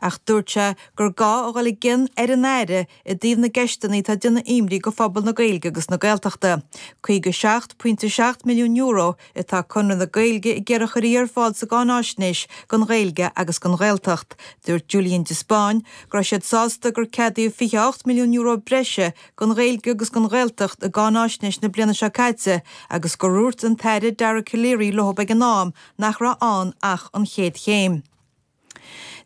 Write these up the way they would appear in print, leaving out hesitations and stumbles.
Ach dúirt sé gur gá a dhul i gcion ar an Aire i dtaobh na gceisteanna atá ag déanamh imní go phobal na Gaeilge agus na Gaeltachta. €57.7 milliún atá Conradh na Gaeilge ag iarraidh a chuirfí ar fáil sa gcáináisnéis don Ghaeilge agus don Ghaeltacht. Dúirt Julian de Spáinn go raibh siad sásta gur ceadaíodh €28 milliún breise don Ghaeilge agus don Ghaeltacht i gcáináisnéis na bliana seo caite agus gur dhúirt an tAire Dara Calleary leo ag an am nach raibh ann ach an chéad chéim.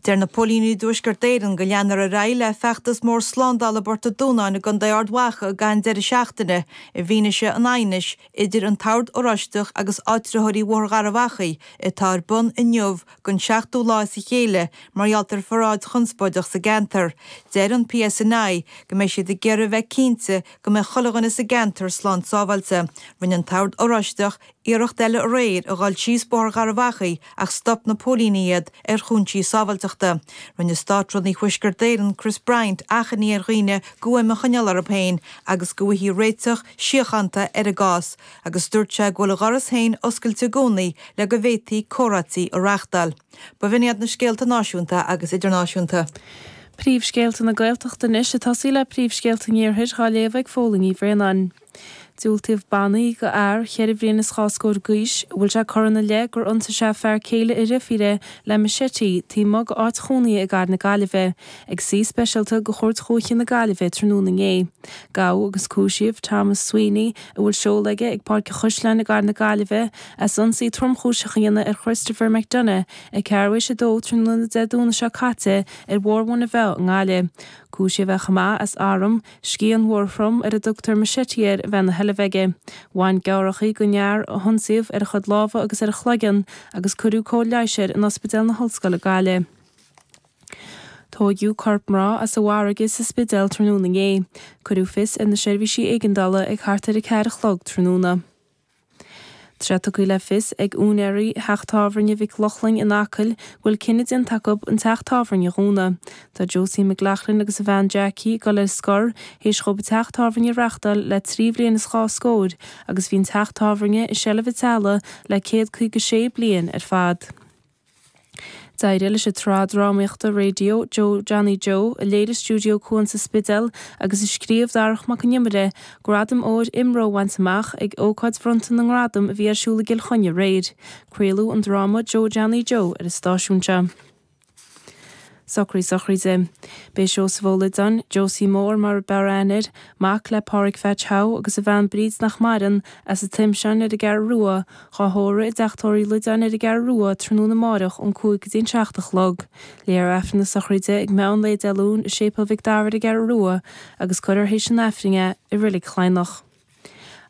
Deir na póilíní i dTuaisceart Éireann go leanfar ar aghaidh le feachtas mór slándála i bPort an Dúnáin i gContae Ard Mhacha i gcaitheamh an deireadh seachtaine i bhfianaise an aighnis idir an tOrd Oráisteach agus áitritheoirí Bhóthar Gharbh Achaidh atá ar bun inniu don seachtú lá as a chéile mar gheall ar pharáid chonspóideach sa gceantar. Deir an PSNI go mbeidh siad ag iarraidh a bheith cinnte go mbeidh chuile dhuine sa gceantar slán sábháilte. Rinne an tOrd Oráisteach iarracht eile aréir a dhul síos Bóthar Gharbh Achaidh ach stop na póilíní iad ar chúinsí sábháilteachta. Rinne Státrúnaí Thuaisceart Éireann, Chris Bryant, achainí ar dhaoine guaim a choinneáil orthu féin agus go bhfaighfí réiteach síochánta ar an gcás agus dúirt sé go bhfuil a dhoras féin oscailte i gcónaí le go bhféadfaí comhráití a reáchtáil. B'in iad na scéalta náisiúnta agus idirnáisiúnta. Príomhscéalta na Gaeltachta anois, ag tosaí le príomhscéalta an Iarthair, dhá léamh ag Fódhla Ní Bhraonáin. Diúltaíodh bannaí go fhear cheithre bhliain is dhá scór d'aois, a bhfuil sé curtha ina leith gur ionsaigh sé fear céile a dhreifíre le machete taobh amuigh d'áit chónaithe i gcathair na Gaillimhe, ag suí speisialta de Chúirt Dhúiche na Gaillimhe tráthnóna inné. Gabhadh agus cúisíodh Thomas Sweeney, a bhfuil seoladh aige ag Páirc an Chaisleáin i gcathair na Gaillimhe, as ionsaí tromchúiseach a dhéanamh ar Christopher McDonagh ag ceathrú théis a dó tráthnóna Dé Domhnaigh seo caite ar Bhóthar Mhuine Mheá i nGaillimh. Cúisíodh é chomh maith as arm, Scian mhór throm ar a dtugtar machete air a bheith ina sheilbh aige. Bhain gearrthacha den fhear a hionsaíodh ar a chuid lámha agus ar a chloigeann agus cuireadh cóir leighis air in Ospidéal na hOllscoile Gaillimh. Tóigeadh corp mná as an bhfarraige sa Spidéal tráthnóna inné. Cuireadh fios ar na seirbhísí éigeandála ag thart ar 4 a chlog tráthnóna. Tá sé tugtha le fios ag úinéirí theach tábhairne Mhic Lochlainn in Acaill go bhfuil cinneadh déanta acu an teach tábhairne a dhúnadh. Tá Josie McLaughlin agus a bhean Jackie ag dul ar scor théis dhóibh an teach tábhairne a reachtáil le 3 bhliain is 2 scóir agus bhí an teach tábhairne i seilbh an teaghlaigh le 156 bliain ar fad. D'éirigh leis an tsraith drámaíochta raidió Joe Johnny Joe, a léirigh Stiúideo Cuan sa Spidéal agus a scríobh Darach Mac Con Iomaire, Gradam Óir IMRO a bhaint amach ag ócáid bhronnta na ngradam a bhí ar siúl i gCill Chainnigh aréir. Craoladh an dráma Joe Johnny Joe ar an stáisiún seo. Socraí sochraide. B'é Seosamh Ó Loideáin, Josie Mór mar a b'fhearr aithne air, mac le Pádhraic Pheaits How agus a bhean Bríd nach maireann, as an Toimseán ar an gCeathrú Rua, Dhá thórramh i dTeach Tórraimh Uí Loideáin ar an gCeathrú Rua tráthnóna amáireach ón 5 go dtí an 7 a chlog. Léifear Aifreann na sochraide ag meán lae Dé Luain i Séipéal Mhic Dara ar an gCeathrú Rua agus cuirfear théis an Aifrinn é i Reilig Chladhnach.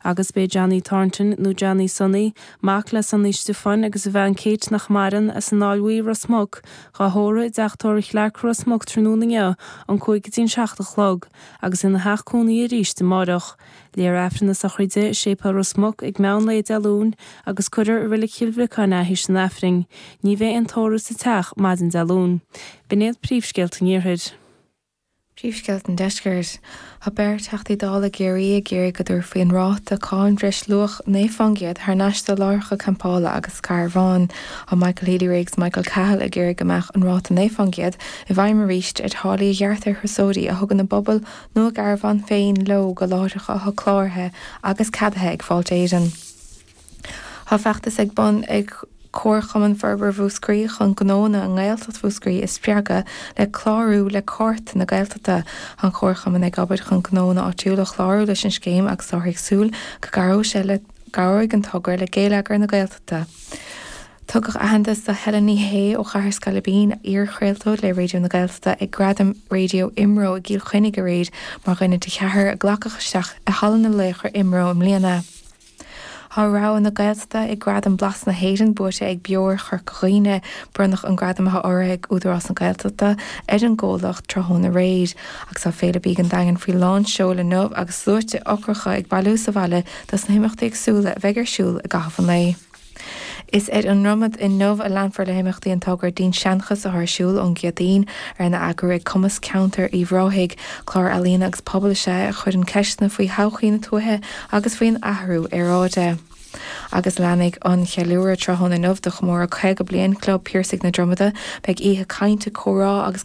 Agus b'é Johnny Thornton, nó Johnny Sonny, mac le Sonny Stiofáin agus a bhean Kate nach maireann, as an Fháil Bhuí, Ros Muc, dhá thórramh i dTeach Tórraimh Chlarke, Ros Muc tráthnóna inniu ón 5 go dtí an 7 a chlog agus ina theach cónaí arís amáireach. Léifear Aifreann na sochraide i Séipéal Ros Muc ag meán lae Dé Luain agus cuirfear i Reilig Chill Bhriocáin é théis an Aifrinn. Ní bheidh aon tórramh sa teach maidin Dé Luain. B'in iad príomhscéalta an Iarthair. Príomhscéalta an Deiscirt. Tá beirt Theachtaí Dála i gCiarraí ag iarraidh go dtabharfaí an ráta cáin bhreisluach 9% thar n-ais do láithreacha campála agus carbhán. Tá Michael Healy-Rae agus Michael Cahill ag iarraidh go mbeadh an ráta 9% i bhfeidhm arís ar tháillí a ghearrtar ar thurasóirí a thugann a bpuball nó a gcarbhán féin leo go láithreacha atá cláraithe agus ceadaithe ag Fáilte Éireann. Tá feachtas ag bun ag Comharchumann Forbartha Mhúscraí chun gnóanna i nGaeltacht Mhúscraí a spreagadh le clárú le Cárta na Gaeltachta. Tá an Comharchumann ag obair chun gnóanna áitiúla a chlárú leis an scéim agus táthar ag súil go gcabhróidh sé le gcabhróidh an togra le géilleagar na Gaeltachta. Tugadh aitheantas do Helen Ní Shé ó Chathair Scailibín, iar-chraoltóir le Raidió na Gaeltachta, ag Gradaim Raidió IMRO i gCill Chainnigh aréir mar dhuine de cheathrar a glacadh isteach i Halla na Laochra IMRO i mbliana. Tá rogha na Gaeltachta ag Gradaim Blas na hÉireann buaite ag Beoir Chorca Dhuibhne. Bronnadh an gradam atá urraithe ag Údarás na Gaeltachta ar an gcomhlacht tráthnóna aréir. Agus tá Féile Bídh an Daingin faoi lán seoil inniu agus sluaite ocracha ag bailiú sa bhaile dos na himeachtaí éagsúla a bheidh ar siúl i gcaitheamh an lae. Is ar an nDromad inniu a leanfar le himeachtaí an togra Dinnseanchas atá ar siúl ón gCéadaoin, arna eagrú ag Cumasc Ceantair Uíbh Ráthaigh. Clár ealaíona agus pobail is ea é a chuireann ceisteanna faoi thodhchaí na tuaithe agus faoin athrú aeráide. Agus leanfaidh an cheiliúradh tráthnóna inniu do chomóradh 50 bliain Chlub Piarsaigh na Dromada. Beidh oíche cainte, comhrá agus.